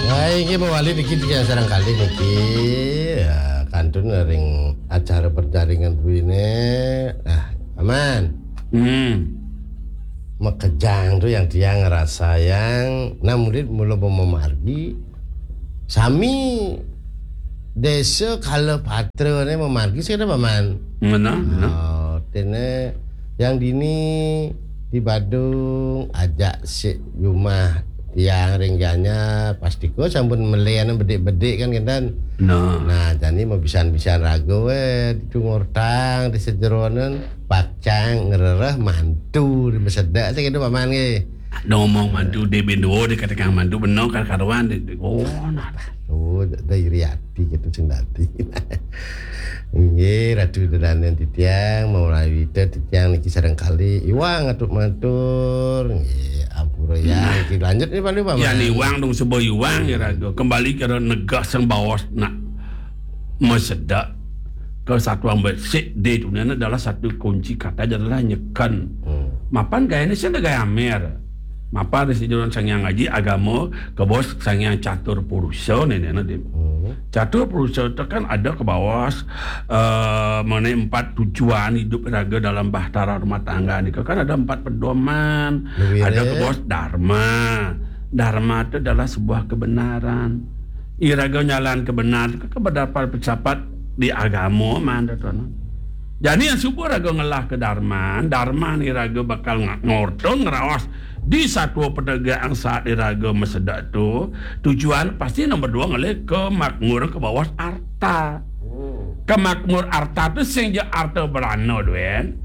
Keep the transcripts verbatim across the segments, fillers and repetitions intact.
Wah, iki mawali niki tiang sareng kalih niki. Ya, kantun ring acara perjaringan buine. Nah, aman. Hmm. Makejang tu yang tiang ngrasayang, nah, murid mula mamargi. Sami desa Kala Patra ne mamargi sing ada paman. Ngena, ngena. Oh, tene yang dini di Badung ajak sik jumah tiang ring janya pastika sampun melen bedik-bedik kan kenten. Nah. Nah, jani mabisan-bisan raga we, ditu ngortang di sejeronen, pakcang ngrereh mantu di masedak sing kento paman nggih. Ngomong mantu di bendua di katekang mantu beno kar karuan di, di, oh, nah. Oh, da iri ati gitu sing dadi. Nggih, Ratu Dedanen titiang, mawali wita titiang niki sareng kalih iwang atur matur. Nggih, ampura ya. Nah. Niki lanjut nih Pak Liu, Pak. Ya, Mas. Iwang dong, sebab iwang ya, Raga. Kembali ke negah sang bawas nak masedak ke satuan besik di dunia ini adalah satu kunci kata adalah nyeken. Hmm. Mapan gaya ini sih ada gaya amer. Mapan di sini orang Sang Hyang Aji agama ke bos Sang Hyang Catur Purusa ni, ni, ni. Hmm. Catur Purusa tu kan ada ke bawah, eh, mengenai empat tujuan hidup raga dalam bahtera rumah tangga ni. Kan ada empat pedoman. Lebih ada ke bawah dharma. Dharma tu adalah sebuah kebenaran. Iraga nyalan kebenaran, kebenaran pesapat di agama man tu, tuan. Jadi yang suba raga ngelah ke dharma, dharma ni raga bakal nga-, ngorta ngeraos di satua penegakan saat di raga masedak tu, tujuan pasti nombor dua ngalih ke makmur ke bawah arta. Hmm. Ke makmur arta tu sing ja arta berana duen.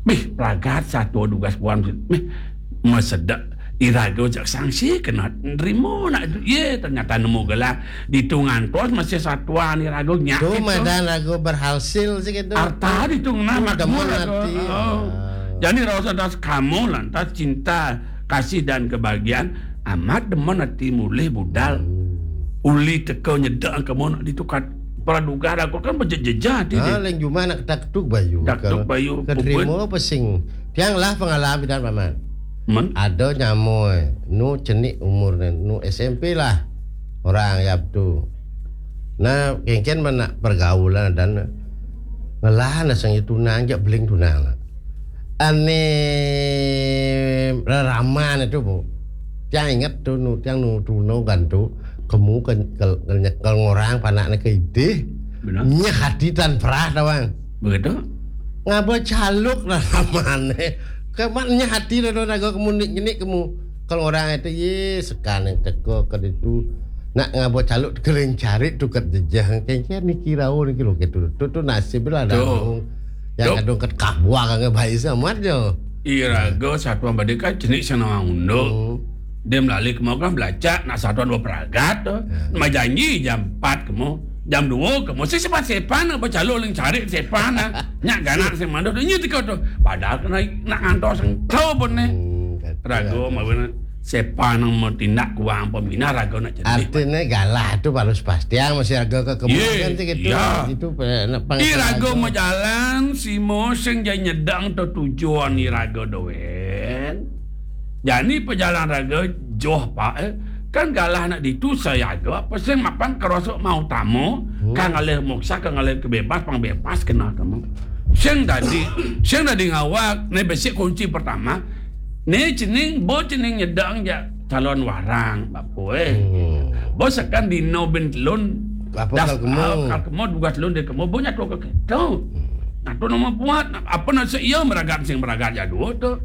Bih, pragat satua dugas buan. Bih, masedak iraga jak sangsi kena nerima nak ye ternyata nemu gelang. Ditu ngantos masih satuan iraga nyak. Tu madan raga berhasil sih gitu. Arta ditu ngena makmur demen raga. Ati. Oh. Ah. Jadi rasa das kamu lantas cinta, kasih dan kebahagiaan amat demen ati mulih budal. Hmm. Uli teka nyedek kamu nak ditukar praduga raga kan bejejejah ati. Ah, deh. Leng jumah nak ketak ketuk bayu. Ketak ketuk bayu, keterima apa sing. Tiang lah pengalaman dan paman. Men? Ada nyamoi, nu cenik umurnya, nu S M P lah. Orang ya tu. Nah, kengken mana pergaulan dan ngelah na sang tunang jak beling tunang lah. Ane reraman itu, Bu. Tiang ingat tu, nu, tiang nu, tu, nu, kan tu. Kemu ke, ke, ke, ke ngorang panaknya ke idih. Benar. Nyah hati tan perah tawang. Begitu. Ngaba caluk reraman eh. Kemat nyah hati dah naga kemu nik, nik kemu. Kalau orang itu, ye, sekarang teka ke itu. Nak ngaba caluk kering cari tu kat jejah. Kengken niki rau niki lo ke tu. Tu, tu nasib lah dah. Tuh. Yang kadung kat kabuah kan baik sama aja. Iraga satuan badika cenik senawang unduk. Hmm. Dia melalui kemau kan belacak nak satuan dua peragat tu. Ya. Nama janji jam empat kemu, jam dua kemu. Si sepan-sepan nak bercalon ling cari sepan nak. Nyak ganak si mandor tu. Ini tiko tu. Padahal kena nak ngantor sengkau pun ni. Hmm, kata raga ada. Mawi sepan nang bertindak kuang peminah raga nak jadi. Artinya galah tu baru sepastian masih raga ke kemungkinan. Ye, tu gitu. Ya. Itu pe-, nak pang-, iraga raga. Majalan, si moseng jai nyedang tu tujuan iraga doen. Jani pejalan raga joh, Pak, eh. Kan galah nak ditu sayaga, apa sing mapan kerosok mau tamu, hmm, kan ngalih moksa, kan ngalih kebebas, pang bebas kena kamu. Sing dadi, sing dadi ngawak, ni besi kunci pertama, ni cening, bo cening nyedang ja calon warang, bapa, eh. Hmm. Bo sekan dino bin telun, apa das-, kal kemo? Ah, kal kemo, dugas telun di kemo, bo nyatu ke keto. Hmm. Nah, tu nama buat, apa nasa iya meragat sing meragat jadua tu.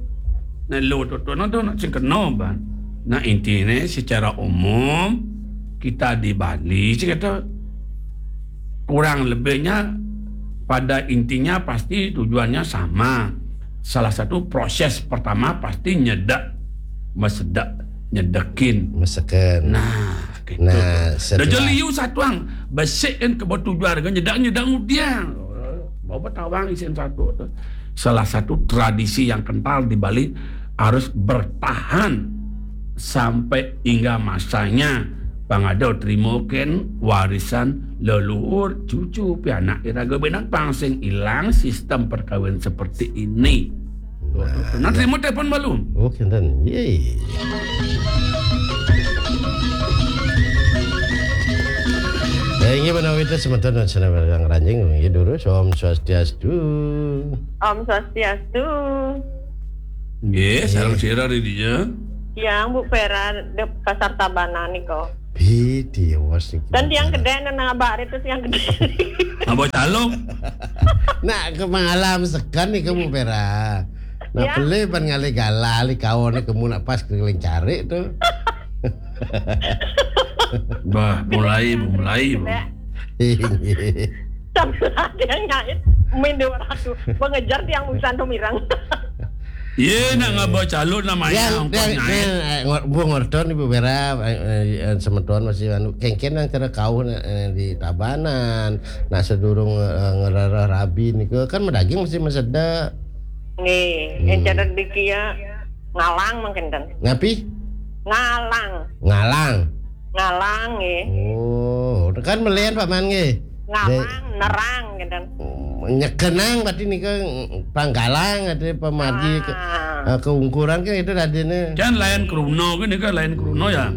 Nah, lo tu, tu, nah, tu, nak sing kena, ban. Nah, intinya secara umum, kita di Bali, sih kata, kurang lebihnya pada intinya pasti tujuannya sama. Salah satu proses pertama pasti nyedak, mesedak, nyedekin. Meseken. Nah, gitu. Nah, tu. Dah setelah jeli yu satuang, besikin ke batu juar, nyedak, nyedak mudiang. Bawa tawang isin satu tu. Salah satu tradisi yang kental di Bali harus bertahan sampai hingga masanya pangada terima ken warisan leluhur cucu pianak iraga benang pang sing ilang sistem perkawin seperti ini. Nah, nah, ya. Terima telepon balu. Oh, kenten. Yeay. Inggih menawi wénten semeton ing sané ngranjing, inggih durus. Om Swastiastu. Om Swastiastu. Nggih, sareng sira ri dia. Tiang Bu Pera di Pasar Tabanan nika. Piti was niki. Dan tiang gedé nang abak itu tiang gedé. Abah caluk. Nak ke mengalam sekan nih kamu Pera. Nak Ya. Pelih ban ngalih galah li kawan nih kamu nak pas keliling cari tuh. Bah, mulai, mulai. Sambil ada yang nyait, mindu ratu, mengejar tiang busan tuh mirang. Ye, nak ngabah caluk namanya Yang, ongkos yang, nyait. yang, eh, ngor- Bu ngorton Ibu Pera, eh, eh, eh, semeton masih anu kengken yang cara kau eh, di Tabanan. Nah sedurung eh, ngerereh rabi niku kan medaging mesti mesedek. Nggih, yang cara dikia ngalang mungkin ten. Ngapi? Ngalang, Ngalang. ngalang nggih. Oh, kan melian Pak Man nggih. Ngalang, nerang gitu. Nyekenang berarti nika panggalang ada pemargi ke, Ah. eh, keungkuran kan itu tadine. Kan lain kruno kan nika lain kruno ya.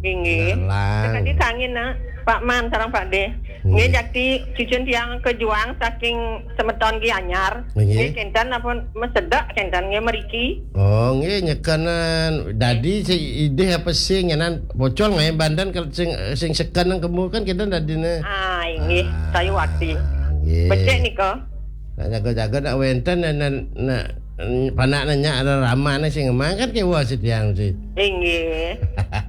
Inggih. Ngalang. Tadi kangin nah, Pak Man sareng Pak De. Nggih, jadi cucun tiang kejuang saking semeton Gianyar. Nggih. Nggih, kenten apa mesedek kenten nggih meriki. Oh, nggih nyekenan. Dadi si idih apa sih nyenan pocol ngai bandan kalau sing sing seken nang kemu kan kita dadine. Ah, inggih, saya wakti. Nggih. Becik nika. Nak jaga-jaga nak wenten nak nak, nak panak nanya ada ramane sing emang kan kewa si tiang si. Inggih.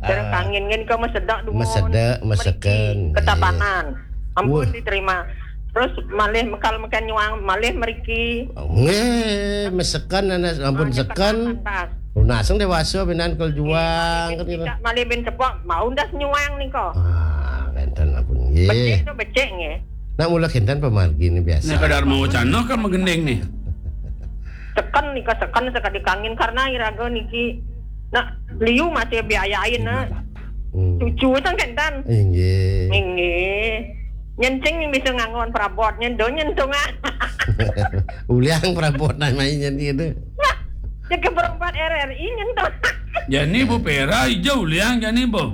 Terus kangin nggih nika mesedek dumun. Mesedek, meseken, Meriki, nggih. Ketabanan. Ampun Wah. diterima. Terus malih mekal meken nyuang, malih meriki. Nggih, meseken anak ampun Ah, seken. Pantas. Lunaseng dewasa benan kel juang kan gitu. Tidak malih bin cepok, mau ndas nyuang nika. Ah, wenten ampun Becik nggih. Itu becik nggih. Nak mula kenten pemargi ini biasa. Nek kadar mau cano kan menggending nih. Seken nika seken sekali kangin karena iraga niki nak liu masih biayain nah. Hmm. Cucu itu kenten. Inggih. Inggih. Nyencing yang bisa nganggon perabot nyen do nyentung ah. Uliang perabot namanya gitu. Cek perempat R R I nyentung. Jani Bu Pera ijo uliang jani Bu.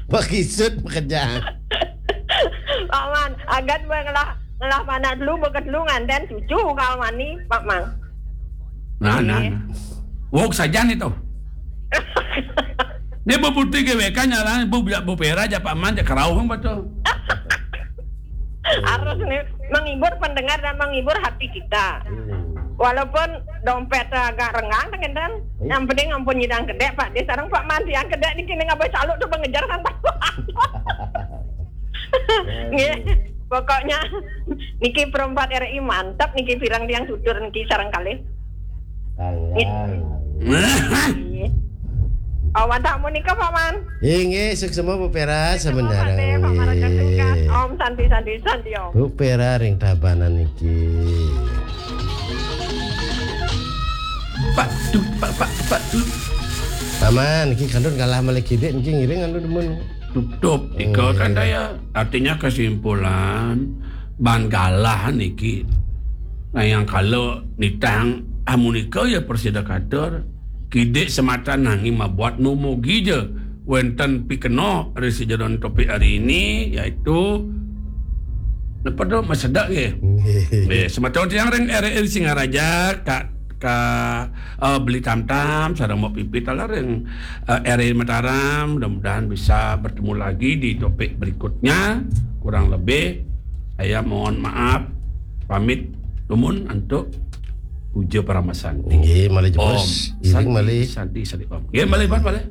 Pakisut pekerjaan. Paman, agan gue ngelah ngelah mana dulu bekas dulu nganten cucu kalau mani Pak Mang. Nah, nah. Iya. Nah. Wok saja nih tuh. Ini Bu Putri G W K nyala Bu Bu Pera aja Pak Man aja kerauh betul. Harus nih menghibur pendengar dan menghibur hati kita. Walaupun dompet agak renggang kan, yang penting ampun nyidang kedek Pak Dé sareng Pak Manti yang kedek niki ning abah caluk tuh mengejar kan. Nggih. Pokoknya niki perempat R I mantap niki pirang tiang tutur niki sareng kalih. Sayang. Awan tamu nika Pak Man. Inggih, suksema Bu Pera sebenarnya. Pak Maraga Sungkat. Om Santi Santi Santi Om. Bu Pera ring Tabanan niki. Pak Dut, Pak Pak Pak Dut. Paman, niki kandun kalah malih kidik niki ngiring anu demen. Tutup tiga kan daya. Artinya kesimpulan ban galah niki. Nah, yang kalau nitang amunika ya persida katur kidik sematan nanging mabuat numugi je wenten pikenoh ri sejeron topik hari ini yaitu napa tu masedak nggih. Nggih, sematan tiang ring R R I Singaraja ka ka uh, beli tam-tam sareng mau pipit ala ring uh, R R I Mataram, mudah-mudahan bisa bertemu lagi di topik berikutnya. Kurang lebih saya mohon maaf pamit lumun untuk puja paramasanti. Nggih, malih Om jebos. Iring Santi, malih. Santi Santi Om. Nggih, malih Pak, malih.